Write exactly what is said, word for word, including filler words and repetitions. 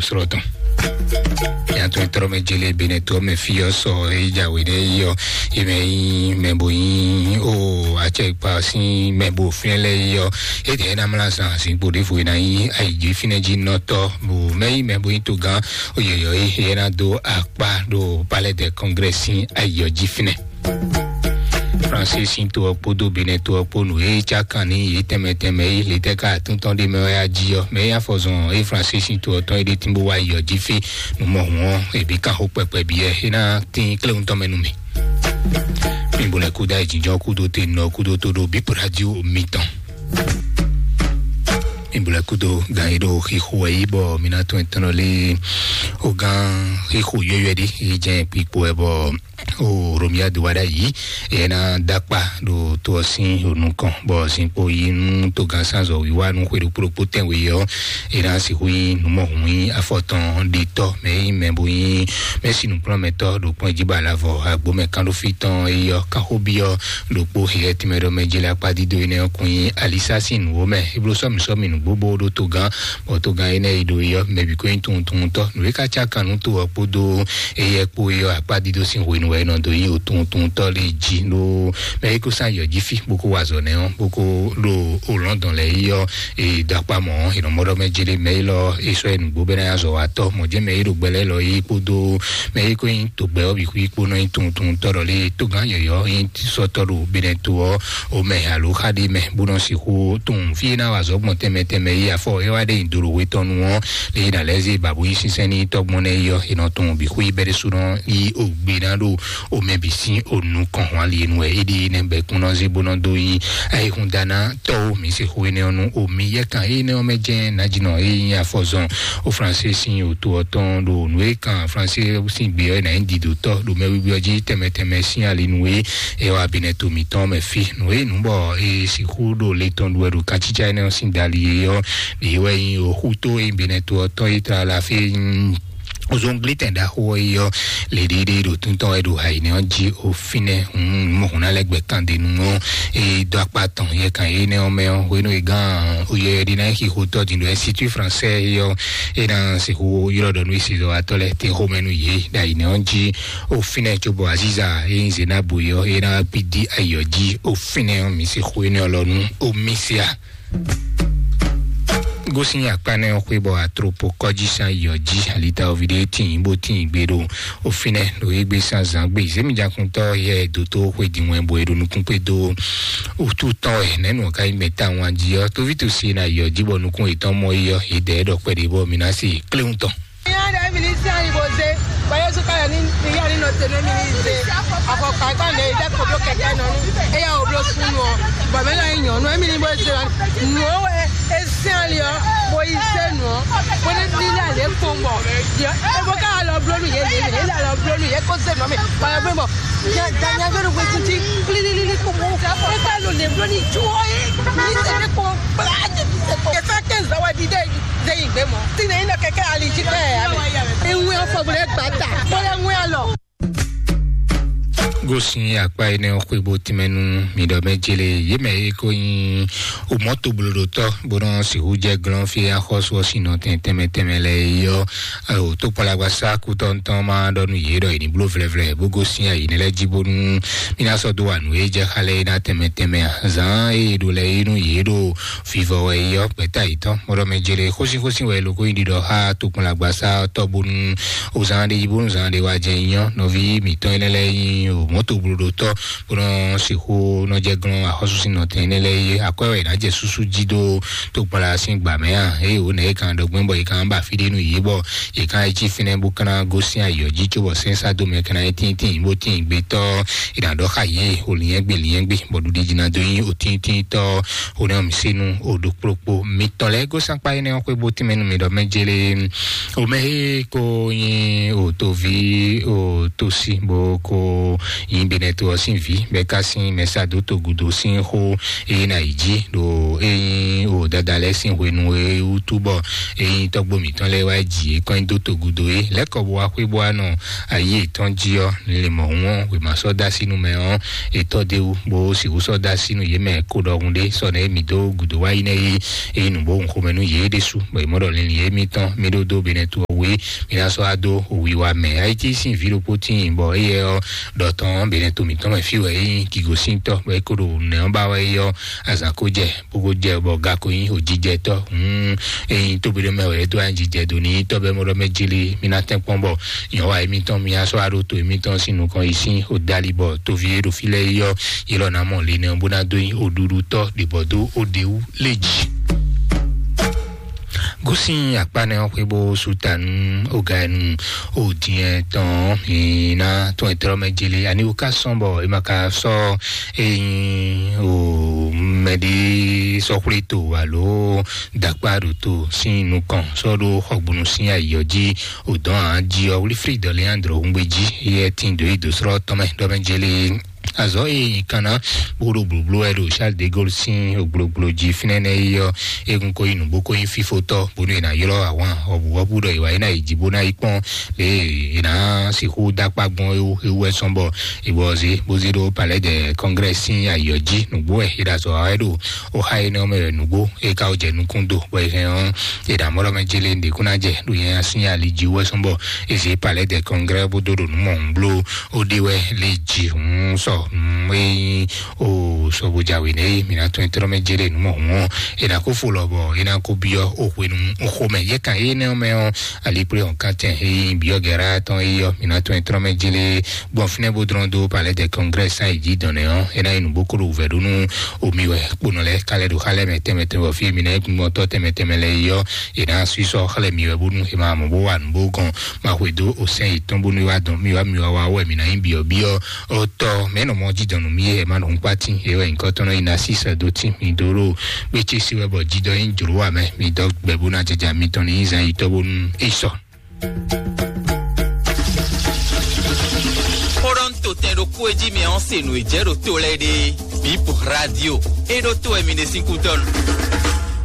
srɔ́ tɔn. Yàtọ̀ ìtọ́rọ́mɛ jẹlẹ bẹnẹ tó mẹ fi ɔ sɔ èyí jàwé dɛ yí ɔ, èmẹ yí mẹ bò yí o àtsẹ ìpa sí mẹ bò fínlẹ̀ yí ɔ. Ètè ẹ̀ náà mla sàn sí gbòdì fò iná yí àyíjí fínlẹ̀ jí nọ́tọ́ bò mẹ yí mẹ bò yí tó gán oyè yọ yí ẹ̀ náà dó akpá dó palais de congrès sí ayọ̀ jí fínlẹ̀. Francis sín to ɔ́ kpódó Benin to ɔ́ kpó nǔ e cá kan ní yě tɛnmɛ tɛnmɛ é, lě tɛ́ ká àtúntɔn ɖé mɛ wɛ á jí ɔ́, mɛ é afɔzɔn e Francis sín to ɔ́ tɔn é ɖe tínbó wá yi ɔ́ jí fí nǔ mɔ hǔn ɔ́, è bǐ kan xó kpɛkpɛ byɔ́ é ná tín kléwúntɔn mɛ nú mì. Mi bo lɛ kúdó ayǐjínjɔ́n kúdó te nɔ kúdó tó ɖo bípo radio mitɔn. Mi bo lɛ kúdó gan e ɖo xixo wɛ yí bɔ mi ná tún ɛtɔn lé o gan xixo yɔyɔɛ ɖé yi jẹ́ kpikpo wɛ bɔ o Romia do wa ɖ'ayǐ, e ná dó akpá ɖo to ɔ́ sín nukɔn, bɔ zinkpo yi nú togán sanzɔ wíwá nú xwe ɖokpó ɖokpó tɛnwe ɔ́, e ná sixú nyí nǔmɔhún nyí afɔtɔn ɖetɔ́ mɛ nyí mɛ bo nyí mɛsínukplɔ́nmɛtɔ́ ɖo kplɔ́n jí ba alavɔ agbomɛ kánɖófí tɔn e yɔ káxóbí ɔ́ ɖokpó xyɛ tínmɛ ɖɔ mɛ jeli akpá dídó énɛ́ ɔ́ kún nyí alisa sín nǔwó mɛ. É bló sɔ́mì sɔ́mì nǔgbó bó ɖó togán, bɔ togán énɛ́ yi ɖo yɔ mɛ bǐ kó nyí tunwun tunwun tɔ́. Nǔ e ka cá kan nú to ɔ́ kpódó Eyɛ kpó yɔ akpá dídó sín hwenu wɛ é nɔ dó yi òtúntúntɔ́ lé jí ɖó mɛ é kó sán yɔ jí fí bó kó wa azɔ̌ nɛ́ ɔ́ bó kó ɖo olɔ́ndɔn lɛ́ɛ yi ɔ́, e dó akpá mɔ̌ ɔ́, è nɔ mɔ ɖɔ mɛ jélé mɛ élɔ́ é sɔ́ ɛ nǔgbó bɛ́ ná azɔ̌ wa tɔ́ mɔ̌ jɛ́n mɛ é ɖo gbɛ lɛ́ɛ lɔ yí kpódó mɛ é kó nyí togbɛ ɔ́ bǐ xwí kpó nɔ nyí tunwuntunwuntɔ́ ɖɔ lé tógán yɔ̌yɔ́ nyí sɔ́tɔ́ ɖo Benɛto ɔ́, o mɛ alo xá ɖé mɛ bó nɔ sixú tunwun fí é ná wa azɔ̌ gbɔn tɛnmɛ tɛnmɛ yí afɔ é wá ɖe nyi dolo wetɔ́nu ɔ́, lě e nǎ lɛ́ zé bǎbú yí sínsɛ́n n'i tɔ́gbɔn nɛ́ yi ɔ́, è nɔ tunwun bǐ xwí bɛ́ ɖésúnɔ yí ògbé ná ɖo omɛ bǐ sín onukɔn hɔn ali e nu wɛ é ɖe nɛ́ bɛ́ kún nɔ zé bó nɔ dó yí ayihúndáná tɔ́ o mǐ se xó énɛ́ ɔ́ nú o mǐ yɛ kan énɛ́ ɔ́ mɛ jɛ́n nǎjínɔ e nyí afɔzɔn o Fransé sín òto ɔ́ tɔn ɖo nǔ e kan Fransé sín gbé ɔ́ é nǎ nyí didotɔ́ ɖo mɛ wíwí ɔ́ jí tɛnmɛ tɛnmɛ sín ali nu e é wá binɛ to mǐtɔn mɛ fí. Nǔ e nǔ bɔ è sixú ɖo le tɔn ɖu wɛ ɖo katsítsá énɛ́ ɔ́ sín dali e ɔ́, ɖě wɛ nyí òxútó e binɛ to ɔ́ tɔn e tlala fí ozɔnglitɛn ɖaxó ɔ́ yi ɔ́, le ɖiɖi ɖo túntɔn wɛ ɖo ayinɛ ɔ́ jí o fínɛ́ hun mɔhun ná lɛ́ gbɛ kan ɖe nu ɔ́, e dó akpá tɔn yɛ kan énɛ́ ɔ́ mɛ ɔ́, hwenu e gán oyɛ ɖi ná xixo tɔ́ din ɖo ɛsitú fransɛ yi ɔ́, e ná sixú ylɔ́ ɖɔ nú isizɔwatɔ́ lɛ́ɛ te xomɛ nú yě ɖo ayinɛ ɔ́ jí o fínɛ́ cóbɔ aziza e nyí zenabu yi ɔ́, e ná kpí dí ayɔ jí o fínɛ́ ɔ́, mi sixú énɛ́ ɔ́ lɔ nú o mísíà. Gosin akpanɛ xwé bɔ atropo kɔji san yɔ ji alita ovi ɖe tin bó tin gbe ɖo ofinɛ ɖo egbe san zan gbe zemi jakuntɔ yɛ doto xwé di wɛn bo eɖo nukun kpe do otu tɔn wɛ nɛnu ka yi mɛ ta wan ji ɔ tovi to si na yɔ ji bɔ nukun etɔn mɔ yi ɔ edɛ ɖɔ kpɛ ɖe bɔ mina si kléwun tɔn. Ìyá rẹ̀ mi ní sí àyìnbó ṣe, báyọ̀ sún káyọ̀ ní ìyá nínú tèmi mi ní ṣe. Àkọ́kọ́ àìkọ́ ní ìdá kò bló kẹ̀kẹ́ nọ ní, ẹ̀yà ò bló sún nù ọ́. Bọ̀ mí lọ yàn nù, ẹ̀mí ní bó ṣe wá. Nù ó wẹ̀, ẹ sí àlè ọ́, bó yí ṣe nù ọ́. Bó ní bí ilé àlè kó ń bọ̀. Yọ, ẹ bó ká lọ bló nù yé lè, yé là lọ bló nù yé kó ṣe nù mí. Báyọ̀ bí mọ̀, yà dá yà gbẹ́rù pé títí, lílílí kò mú. Ẹ bá lò lè bló ní ju ọ́ yé. Ní ṣe ní kò, bá a jẹ kí ṣe kò. Ẹ fẹ́ kí n zọ wá di dé yìí. Zé yi gbé mɔ. Tí ne yín ɖɔ kɛkɛ ali jí kpɛ ya mɛ. Eŋu ya fɔ bolo egba ta. Bolo eŋu ya lɔ. Gosin akpa yi ne xwe bo tìmɛ nu mi ɖɔ mɛ jele ye mɛ ye ko yin o mɔto blodotɔ bo nɔ sihu jɛ glɔn fi axɔsu ɔsi nɔ tɛn tɛmɛ tɛmɛ lɛ yɔ o to kpalagbasa kutɔ ntɔn ma ɖɔ nu ye ɖɔ yi ni blo vlɛvlɛ bo gosin ayi ne lɛ ji bonu mi na sɔ do wa nu ye jɛ xa lɛ yi na tɛmɛ tɛmɛ a zan ye ɖo lɛ yi nu ye ɖo vivɔ wɛ yi ɔ gbɛta yi tɔn mɔɖɔ mɛ jele xosi xosi wɛ lo ko yi ɖiɖɔ xa tokun la gbasa tɔ bonu o zan ɖe yi bonu zan ɖe wa jɛ nyɔ nɔvi mitɔn yi lɛ yi o mɔto blo ɖo tɔ bonu sixu nɔ jɛ glɔn axɔsu sin nɔtɛn yi lɛ yi akɔɛ wɛ na jɛ susu ji do tokun la sin gba mɛ a eye o nɛ yi kan ɖɔ gbɛn bɔ yi kan ba fi ɖe nu yi bɔ yi kan yi ci finɛ bo kana gosin ayɔ ji tso bɔ sɛnsa do mɛ kana yi tin tin bo tin gbetɔ yi na ɖɔ xa yi o liɛn gbe liɛn gbe bɔ ɖuɖi jina do yi o tin tin tɔ o ne mi se nu o ɖo kplokpo mitɔn lɛ gosan kpa yi ne xwe bo tɛmɛ nu mi ɖɔ mɛ jele o mɛ he ko yin o tovi o tosi bo ko yin benɛ to ɔsin vi bɛ ka sin mɛsa do to gudo sin xo eye na yi ji ɖo eyin o dada lɛ sin hwenu e wutu bɔ eyin tɔgbo mitɔn lɛ wa ji e kɔn do to gudo e lɛkɔ bo wa xwe bo wa nɔ ayi etɔn ji ɔ le mɔ wọn wema sɔ da sinu mɛ ɔ etɔ de wu bo siwu sɔ da sinu ye mɛ ko ɖɔhun ɖe sɔ ne mi do gudo wa yi ne yi eyi nu bo hun xomɛ nu ye ɖe su bɔ emɔ ɖɔ lili ye mi tɔn mi ɖo do benɛ tu wě, mi ná sɔ́ wá dó wiwa mɛ. Ayiti sín vǐ ɖokpó tíin bɔ éyɛ ɔ́, ɖɔ tɔn běnɛ to mǐtɔn mɛ fí wɛ é nyí gǐgosíntɔ́, bɔ é ko ɖo nɛ̌ ɔ́ ba wɛ é ɔ́, azǎn ko jɛ, bó ko jɛ bɔ ga ko nyí òjijɛtɔ́. Hǔn ényí tóbi ɖé mɛ wɛ é dó anyijijɛ do ní tɔ́ bɛ́ mɔ ɖɔ mɛ jili, mi ná tɛ́n kpɔ́n bɔ nyɔ̌wa émítɔn mi ná sɔ́ wá ɖó to émítɔn sín nukɔn yi sín òdali bɔ toví e ɖo fí lɛ́ɛ é ɔ́, yě lɔ ná mɔ linɛ bó ná dó nyí òɖuɖutɔ́ ɖě bɔ dó òɖewú lé jǐ. Gosín akpá nɛ́ ɔ́ xwé bó sú ta nú oga e nu o diɛ tɔn mi ná tɔn e tlɔ́ mɛ jeli ani wú ká sɔn bɔ e ma ka sɔ́ e nyí o mɛ ɖé sɔ́ xwlé to alo dakpá ɖo to sín nukɔn sɔ́ ɖó xɔgbónu sín ayǐ ɔ́ jí o dɔn ǎ jí ɔ́ wlí frí dɔlé andro hungbe jí yɛ tín dǒ yi dǒ srɔ́ tɔn mɛ ɖɔ mɛ jeli. Azɔ eye nyi kanna bó ɖo blóbló wɛ ɖo Charles de Gaulle sín ogblogbló jí fínɛ́ nɛ́ yi ɔ́, egun ko yi nǔgbó ko nyí fífótɔ́ bónú è nǎ ylɔ́ ahwan ɔbǔwɔ́bú ɖɔ è wǎ yi ná yi jí bó ná yi kpɔ́n lě è nǎ sixú dó akpá gbɔn é wú é wú wɛ sɔ́n bɔ è bɔ zé bó zé ɖó Palais de Congrès sín ayǐ ɔ́ jí. Nǔgbó wɛ è ɖo azɔ̌ wa wɛ ɖo oxa énɛ́ ɔ́ mɛ wɛ nǔgbó é ka wó jɛ nukún do bɔ è hɛn ɔ́ è ɖǎ mɔ́ ɖɔ mɛ jélé ɖě kún ná jɛ ɖo nyanya sín ali jí wú wɛ sɔ́n bɔ è zě Palais de Congrès bó dó ɖo nǔ mɔ̌hun bló. Ó ɖe wɛ lé jǐ hǔn sɔ nǔ e nyí o sɔbojǎwe nɛ e mǐ ná tɔn e tlɔ́ mɛ jɛ ɖe nǔ mɔ hǔn ɔ́, è nǎ kó fo lɔ bɔ é ná kó byɔ́ o hwenu xomɛ yɛ kan énɛ́ ɔ́ mɛ ɔ́, ali kplé hɔn kantɛn e nyí byɔ́ gɛ̌rá tɔn é yɔ mǐ ná tɔn e tlɔ́ mɛ jɛ lé gbɔn fínɛ́ bó dlɔ́n dó Palais de Congrès sán yi jí dɔn nɛ ɔ́, é ná nyí nǔ bó kó ɖo wǔvɛ́ ɖó nú omi wɛ kponɔ lɛ́ɛ ká lɛ́ ɖo xá lɛ́ɛ mɛ tɛnmɛ tɛnmɛ bɔ fí e mǐ ná nyí gbɔn tɔ́ tɛnmɛ tɛnmɛ lɛ́ɛ é yɔ, è nǎ sú sɔ́ xlɛ́ mi wɛ bónú è ma mɔ bó wa nǔ bó gɔn. Ma xwedó osɛn yětɔn bónú é wá dɔn mi wá mi wá wá wɛ mi ná nyí byɔ̌byɔ́ ɔ́ tɔ mɛ nɔ mɔ jí dɔn nú mi yɛ ma nɔ kpá tín é wɛ nyǐkɔ tɔn nɔ yi ná sí sɛ dó tín mi dó ɖo gbétsé sí wɛ bɔ jí dɔ nyí jló wa mɛ mi dɔ gbɛ bó ná jɛjɛ mi tɔn ní zan yi tɔ bónú é sɔ. Xó ɖɔ ń to tɛn ɖokpó e jí mi ɔ́ se nǔ e jɛ ɖo to lɛ́ɛ ɖe. Bip Radio. É ɖó to wɛ mi ɖe sín kútɔ́nu.